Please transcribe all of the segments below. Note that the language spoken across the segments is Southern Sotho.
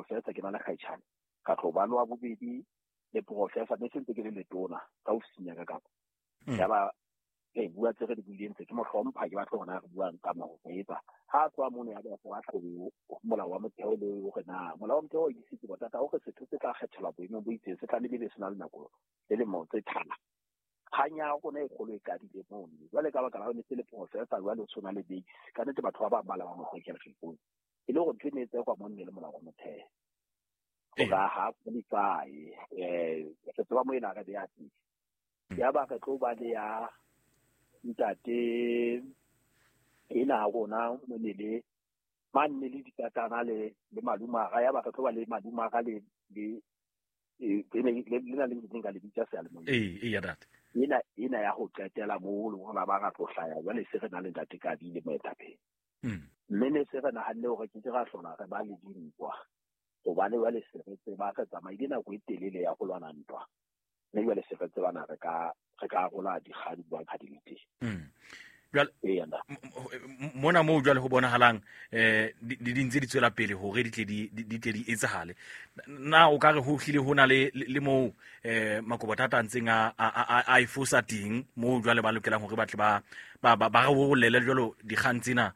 professor ke na le kgaitjhane, ka tlo ba le wa bobedi le professor, mme se ntse ke le letona ka ofising ya ka kapa. Yaba re bua tse re di buileng tse, ke mo hlompha, ke batla hore na re buang ka mo ho etsa. Ha a tloha mono ya ba wa tlo molao wa motheo le hore na molao wa motheo o isitse bothata hore setho se tla kgethelwa boemong bo itseng se tla be se na le nako le lemo tse thana. Kgang ya rona e kgolo e qadile mono. Jwale ka baka la hore ne se le professor jwale o tshwana le base. Ka nnete batho ba bang ba la ba mo hlekela sekolo. E le hore ntho e ne e tsekwa mo nne le molao wa motheo. Hore ha qualify, re tseba mo ena re beya teng. Ya ba re tlo ba le ya ntate ena rona mo ne le manne le dikatana le malumara, ya ba re tlo ba le malumara le le le na le ntseng ka le bitsa seyalemoyeng. Ee, ya ntate. Ena ya ho qetela moo le hore ba ra tlo hlaya jwale se re na le ntate Kabi le moetapele. Mme ne se re nahanne hore ke ra hlola re ba le dintwa, hobane jwale se re tseba re tsamaile nako e telele ya ho lwana ntwa, mme jwale se re tsebana re ka arola dikgang jwang ha di le teng. Jwale mona moo jwale ho bonahalang di ntse di tswela pele hore di tle di etsahale. Na o ka re ho hlile ho na le moo Makobothata a ntseng a e fosa teng moo jwale ba lokelang hore ba tle ba re bolele jwalo dikgang tsena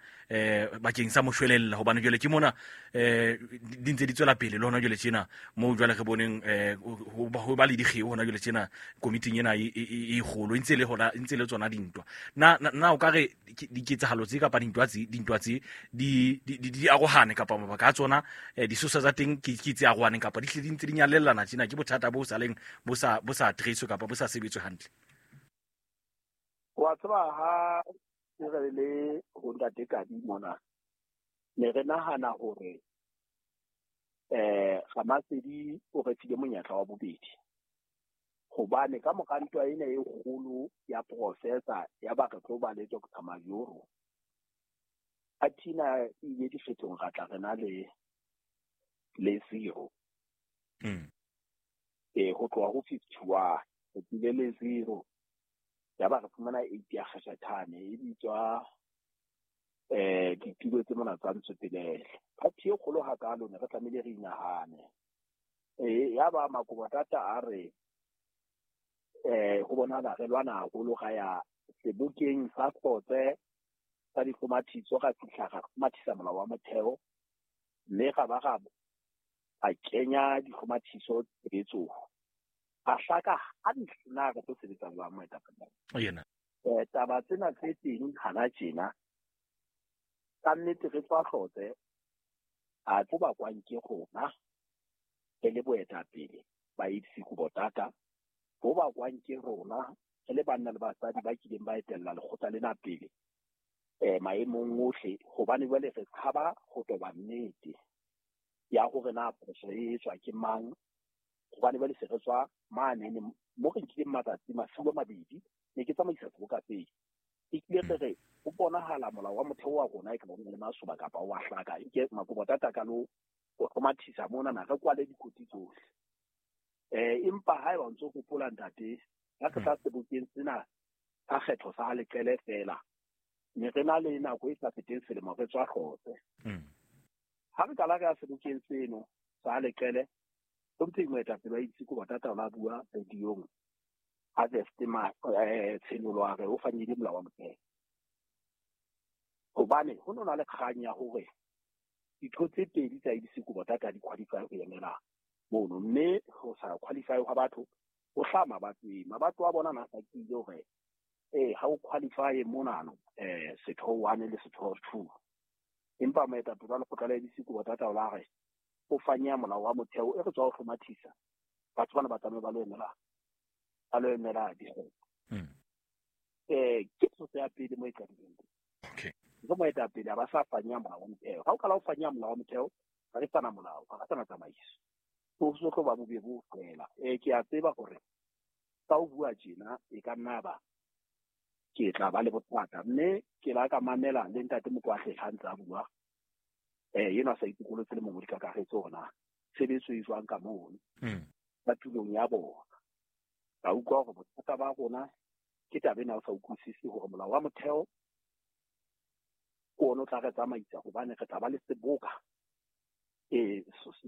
bakeng sa moshwelella, hobane jwale ke mona di ntse di tswela pele le hona jwale tjena moo jwale re boneng ho ba le dikgeo hona jwale tjena komiting ena e kgolo e ntse le hona, e ntse le tsona dintwa. Na o ka re diketsahalo tse kapa dintwa tse di arohane kapa mabaka a tsona disosa tsa teng ke tse arohaneng kapa di hle di ntse di nyalellana tjena, ke bothata bo sa leng bo sa addresswe kapa bo sa sebetswe hantle? Wa tseba ha re le ho ntate Kabi mona, ne re nahana hore Ramasedi o re file monyetla wa bobedi, hobane ka mora ntwa ena e kgolo ya professor ya ba re tlo ba le Dr. Majoro, a thina ile dikgethong ra tla re na le zero. Ho tloha ho 51 re tlile le zero, ya ba re fumana 8 ya kgashethane e bitswa ditulo tse mona tsa Ntswepelele. Party e kgolo hakalo ne re tlamehile re inahane. Ya ba Makobothata a re ho bonahala re lwana haholo, ra ya sebokeng sa Hlotse sa dihlomathiso, ra fihla ra hlomathisa molao wa motheo, mme ra ba ra a kenya dihlomathiso tshebetsong. A hlaka hantle na re tlo sebetsa jwang moetapele. Yena. Taba tsena tse teng hana tjena, ka nnete re tswa Hlotse, a tlo bakwang ke rona re le boetapele ba ABC Kobothata, bo bakwang ke rona re le banna le basadi ba kileng ba etella lekgotla lena pele maemong ohle, hobane jwale re tshaba ho toba nnete ya hore na phoso e etswa ke mang, hobane jwale se re tswa mane mo re nkileng matsatsi masiu a mabedi ne ke tsamaisa seboka seo. E kile re re ho bonahala molao wa motheo wa rona e ka ba le masoba kapa wa hlaka, e ke Makobothata ka lo ho hlomathisa mona na re kwale dikoti tsohle. Empa haeba o ntso hopola ntate, ha re tla sebokeng sena sa kgetho sa Leqele fela, ne re na le nako e sa feteng selemo re tswa Hlotse. Ha re qala re ya sebokeng seno sa Leqele, ho ntse moetapele wa ABC Kobothata o la bua radiong Harvest Tshenolo a re o fanyile molao wa motheo, hobane ho no na le kgang ya hore ditho tse pedi tsa ABC Kobothata di qualify ho emela mono, mme ho sa qualify hwa batho ho hlaha mabatoweng. Mabato a bona na hlakile hore ha o qualify monano setho 1 le setho 2, empa moetapele wa lekgotla la ABC Kobothata o la re o fanya molao wa motheo e re tswa ho hlomathisa batho bana ba tsamaye ba lo emela dikgetho. Ke tsotso ya pele mo e qadileng. Okay. Ke moetapele a ba sa fanya molao wa motheo. Ha o qala o fanya molao wa motheo, ha re sana molao, ha re sana tsamaiso. Ho so tlo ba bobe bo fela. Ke a tseba hore ka o bua tjena e ka nna ba ke tla ba le bothata, mme ke la ka mamela le ntate Mokwahle ha ntse a bua. Yena sa itokolotse le mongodi ka kakaretso hore na tshebetso e jwang ka mono ka tulong ya bona. Ka utlwa hore bothata ba rona ke taba ena o sa utlwisise hore molao wa motheo ke ona o tla re tsamaisa, hobane re tla ba le seboka